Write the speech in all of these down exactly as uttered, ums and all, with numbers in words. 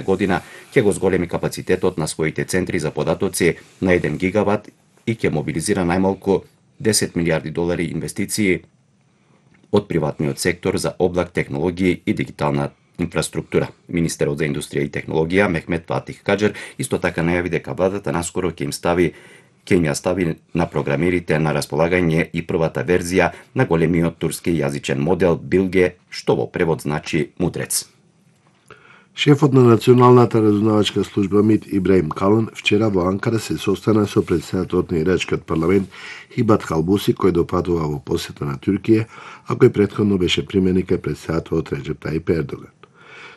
година ќе го зголеми капацитетот на своите центри за податоци на еден гигават и ќе мобилизира најмалку десет милијарди долари инвестиции од приватниот сектор за облак технологии и дигитална инфраструктура. Министерот за индустрија и технологија Мехмет Фатих Каџер исто така најави дека владата наскоро ќе им стави ќе им ја стави на програмерите на располагање и првата верзија на големиот турски јазичен модел Билге, што во превод значи мудрец. Шефот на Националната разузнавачка служба МИТ Ибраим Калан вчера во Анкара се состана со претседателот на ирачкиот парламент Хибат Халбуси, кој допатува во посета на Туркија, а кој претходно беше применик кај претседателот Реджеп Тајип Ердоган.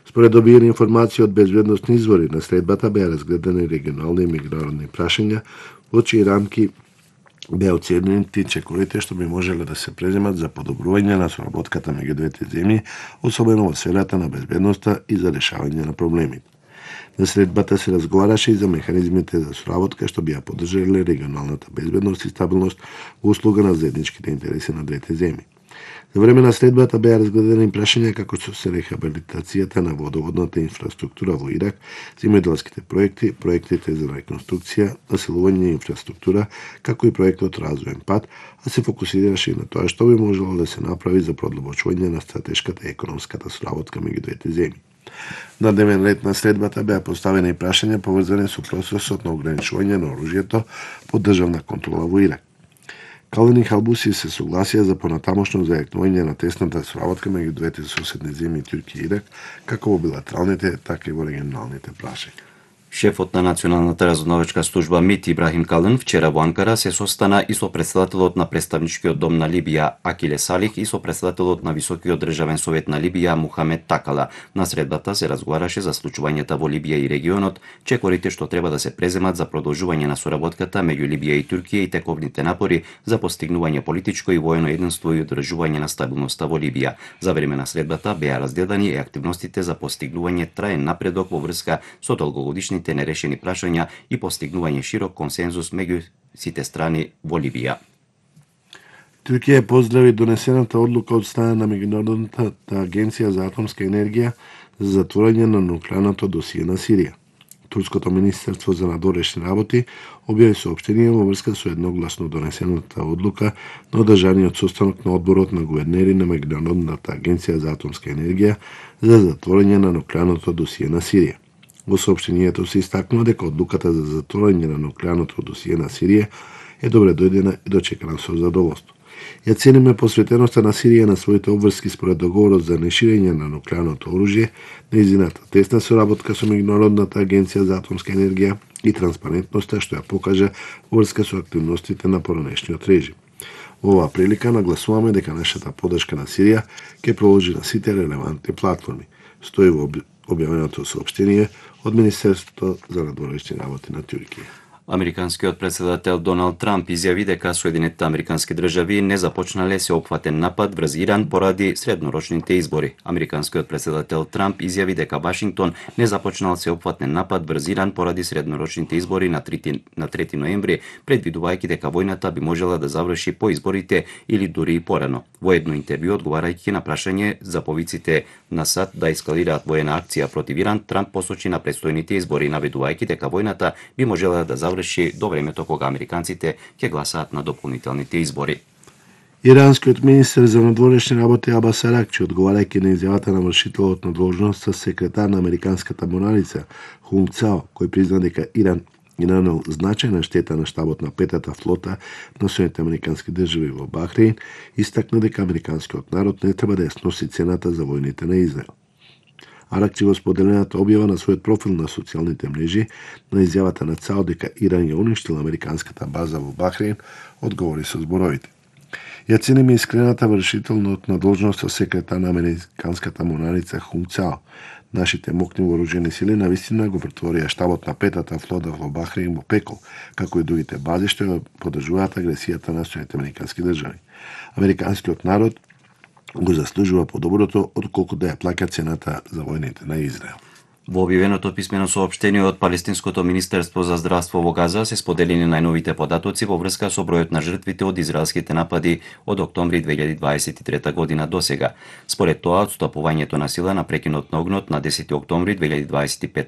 Според добиени информации од безбедносни извори, на средбата беа разгледани регионални и меѓународни прашања, во чии рамки беа оценети чекорите што би можеле да се преземат за подобрување на соработката меѓу двете земји, особено во сферата на безбедноста и за решавање на проблемите. На средбата се разговараше и за механизмите за соработка што би ја поддржале регионалната безбедност и стабилност во услуга на заедничките интереси на двете земји. За време на средбата беа разгледани прашања како што се рехабилитацијата на водоводната инфраструктура во Ирак, земјоделските проекти, проектите за реконструкција, населување и инфраструктура, како и проектот Развоен пат, а се фокусираше и на тоа што би можело да се направи за продлабочување на стратешката и економската соработка меѓу двете земји. На дневен ред на средбата беа поставени и прашања поврзани со процесот на ограничување на оружјето под државна контрола во Ирак. Калан и Халбуси се согласија за понатамошно зајакнување на тесната соработка меѓу двете соседни земји Туркија и Ирак, како во билатералните, така и во регионалните прашања. Шефот на Националната разузнавачка служба МИТ Ибрахим Калан вчера во Анкара се состана и со претседателот на Представничкиот дом на Либија Акиле Салих и со претседателот на Високиот државен совет на Либија Мухамед Такала. На средбата се разговараше за случувањата во Либија и регионот, чекорите што треба да се преземат за продолжување на соработката меѓу Либија и Туркија и тековните напори за постигнување политичко и воено единство и одржување на стабилноста во Либија. За време на средбата беа разгледани и активностите за постигнување траен напредок во врска со долгогодишни нерешени прашања и постигнување широк консензус меѓу сите страни во Либија. Туркија поздрави донесената одлука од страна на Меѓународната агенција за атомска енергија за затворање на нуклеарното досие на Сирија. Турското министерство за надворешни работи објави соопштение во врска со едногласно донесената одлука на одржаниот состанок на одборот на гувернери на Меѓународната агенција за атомска енергија за затворање на нуклеарното досие на Сирија. Во соопштението се истакнува дека одлуката за затворање на нуклеарното досие на Сирија е добре дојдена и дочекана со задоволство. Ја цениме посветеноста на Сирија на своите обврски според договорот за неширење на нуклеарното оружје, нејзината тесна соработка со Меѓународната агенција за атомска енергија и транспарентноста што ја покажа врска со активностите на поранешниот режим. Во оваа прилика нагласуваме дека нашата поддршка на Сирија ќе продолжи на сите релевантни платформи. Стои во објавеното соопштение од Министерството за надворешни работи на Туркија. Американскиот претседател Доналд Трамп изјави дека Соединетите американски држави не започнале сеопфатен напад врз Иран поради среднорочните избори. Американскиот претседател Трамп изјави дека Вашингтон не започнал сеопфатен напад врз Иран поради среднорочните избори на трети ноември, предвидувајќи дека војната би можела да заврши по изборите или дури и порано. Во едно интервју одговарајќи на прашање за повиците на САД да ескалираат воена акција против Иран, Трамп посочи на предстојните избори, наведувајќи дека војната би можела да заврши до времето кога американците ќе гласаат на дополнителните избори. Иранскиот министер за надворешни работи Абас Аракчи, одговарајќи на изјавата на вршителот на должноста секретар на американската морнарица Хунг Цао, кој призна дека Иран и нанел значајна штета на штабот на петата флота на Соединетите американски држави во Бахрейн, истакна дека американскиот народ не треба да ја сноси цената за војните на Израел. Аракчи во споделената објава на својот профил на социјалните мрежи на изјавата на Цао дека Иран ја уништила американската база во Бахрейн, одговори со зборовите: Ја цениме искрената вршителност на должноста секретар на американската морнарица Хунг Цао. Нашите мокни вооружени сили навистина го претворија штабот на петата флота во Бахрейн во пекол, како и другите бази што ја поддржуваат агресијата на Соединетите американски држави. Американскиот народ го заслужува подоброто отколку да ја плаќа цената за војните на Израел. Во објавеното писмено соопштение од Палестинското министерство за здравство во Газа се споделени најновите податоци во врска со бројот на жртвите од израелските напади од октомври две илјади дваесет и трета година до сега. Според тоа, отстапувањето на сила на прекинот на огнот на десети октомври две илјади дваесет и пета